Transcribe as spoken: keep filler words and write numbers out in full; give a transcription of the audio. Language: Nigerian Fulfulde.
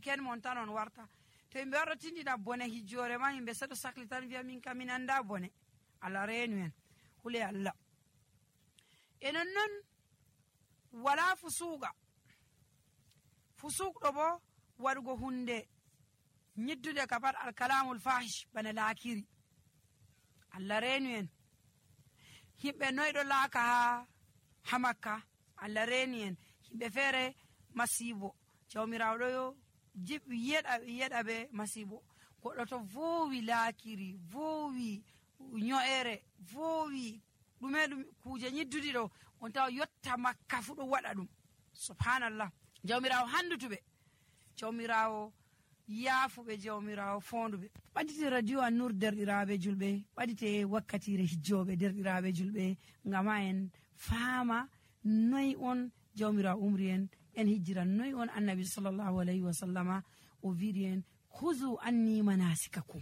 weekend mon tan on warta. To yimɓe warɗo tindina bone hijjore ma yimɓe seɗo sakli tan wiya min kam min anda bone. Allah reenu en hule Allah. E non non wala fusuuqa. Fusuuq ɗo bo waɗugo hunde nyiddude ka pat alkalamul fahish bana laakiri. Allah reenu en. Himɓe noyɗo laaka ha ha Makka. Allah reeni en. Himɓe feere masibo. Jawmirawo ɗo yo jiɓi yeɗa yeɗa be masibo. Goɗɗo to vowi laakiri, vowi nyo'ere, vowi ɗume ɗum kuje nyiddudi ɗo on tawa yotta Makka fu ɗo waɗa ɗum. Subhanallah. Jawmirawo handutuɓe. Jawmirawo yaafuɓe, jawmirawo fonduɓe. Ɓadite radio An-Nur derɗiraɓe julɓe, ɓadite wakkatire hijjoɓe derɗiraɓe julɓe, ngama en faama noy on jawmirawo umri en en hijjiran, noy on annabi sallallahu alayhi wa sallama o wiiri en huzu anni manasikakum.